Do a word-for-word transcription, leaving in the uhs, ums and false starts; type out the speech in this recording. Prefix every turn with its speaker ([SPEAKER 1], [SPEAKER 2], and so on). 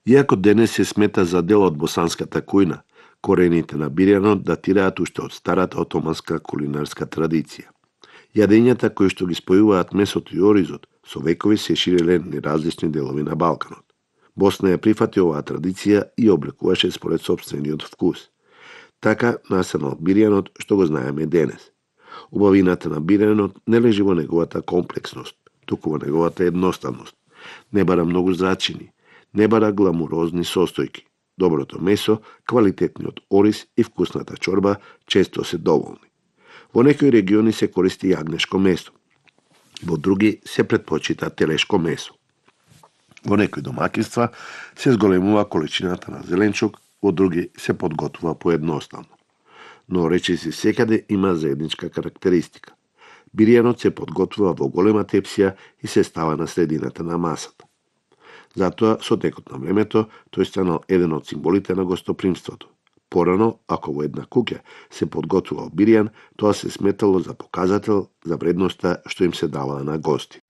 [SPEAKER 1] Иако денес се смета за дел од босанската кујна, корените на бирјанот датираат уште од старата отоманска кулинарска традиција. Јадењата кои што ги спојуваат месото и оризот со векови се ширеле на различни делови на Балканот. Босна ја прифати оваа традиција и облекуваше според сопствениот вкус. Така настанал бирјанот што го знаеме денес. Убавината на бирјанот не лежи во неговата комплексност, туку во неговата едноставност. Не бара многу зрачини, не бара гламурозни состојки. Доброто месо, квалитетниот ориз и вкусната чорба често се доволни. Во некои региони се користи јагнешко месо, во други се претпочита телешко месо. Во некои домаќинства се зголемува количината на зеленчук, во други се подготвува поедноставно. Но речиси секаде има заедничка карактеристика. Бирјанот се подготвува во голема тепсија и се става на средината на масата. Затоа, со текот на времето, тој станал еден од символите на гостопримството. Порано, ако во една куќа се подготвувал бирјан, тоа се сметало за показател за вредноста што им се даваа на гости.